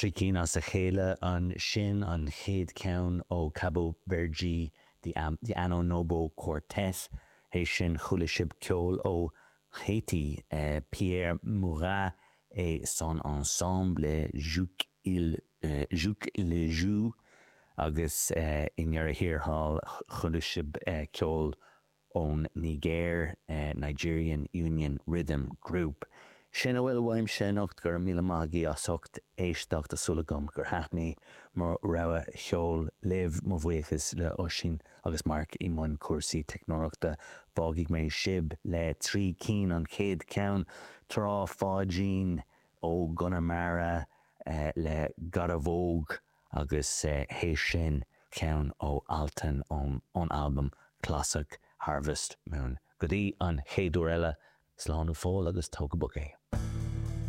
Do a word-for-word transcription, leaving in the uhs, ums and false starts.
Trí cinn as a chéile ansin an chéad cheann ó Cabo Verde the, um, the Ano Nobo Quartet é sin chuala sibh ceol ó Haiti uh, Pierre Murat et son ensemble Jouk il uh, Jouk le Jou agus uh, i ndeireadh thiar thall chuala sibh uh, ceol ón Niger uh, Nigerian Union Rhythm Group. Sin a bhfuil uaimse anocht go raibh míle maith agaibh as ucht éisteacht tá súil agam gur thaitin mo rogha cheoil libh mo bhuíochas le Oisín agus Mark i mbun cúrsaí teicneolaíochta fágfaidh mé sibh le trí cinn an chéad cheann Trá Pháidín ó Chonamara eh, le Garavogue agus eh, théis sin ceann ó Altan ón ón album Classic Harvest Moon. Go dtí an chéad uair eile slán go fóill agus tóg go bog é.